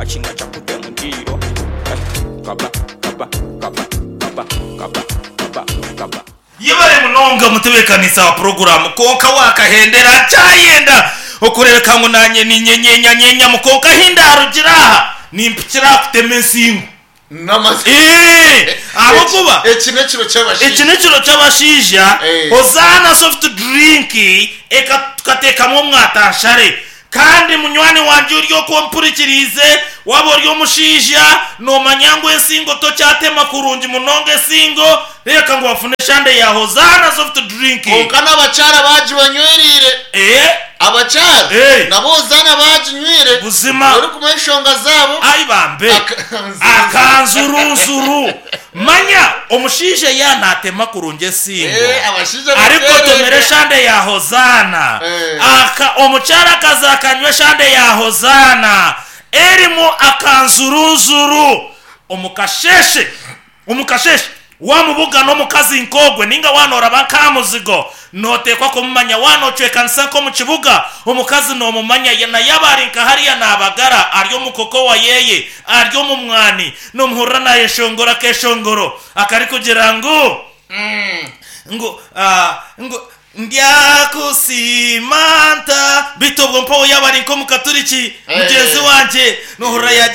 Machinga chakute mudiro Eh, kaba, kaba, kaba, kaba, kaba, kaba, kaba. Yebare munonga mutebeekanisa wa puroguraamu kwonka waakahendera nkyayenda okureebeka ngu naanye ninyenyenyanyenyamu kwonka ahi ndaarugira aha nimpikira aha kutema ensingo. Eeh! Ahabw'okuba Eki n'ekiro eki ky'abashaija. n'ekiro ky'abashaija, Eh. Hozaana soft drink eka tukateekamu omwatanshare. Kandi munywani wangye ori okwo ompurikiriize, waaba ori omushaija, noomanya ngu ensingo tokyatema kurungi munonga ensingo, reeka ngu wafuna eshande ya Hozaana soft drink. Kwonka n'abakyara baagibanywereire. Eh! Abakyara Eh! nabo Hozaana baaginywire. Buzima. Orikumanya enshonga zaabo. Ai bambe! Akanzurunzuru! Manya omushaija yaaba naatema kurungi ensingo, Eh, abashaija arikugotomera bateererwa. eshande ya Hozaana, Eh. aka, omukyara akaza akanywa eshande ya Hozaana erimu akanzurunzuru. Omu kasheeshe, omu kasheeshe, Waamubugana omukazi nk'ogwe nainga waaba nooraba nk'aha muzigo, nooteekwa kumumanya. Waaba noocwekanisa nk'omu kibuga, omukazi noomumanya. Na yaaba ari nka hariya naabagara, ari omu kokowa yeeye, ari omu mwani, noomuhurira naayeshongora akeeshongoro akarikugira ngu, ngu, ngu, Ndyakusiima nta? Beitu obwo mpaho yaaba ari nk'omukaturiki mugyenzi wangye, noohurira yaagira.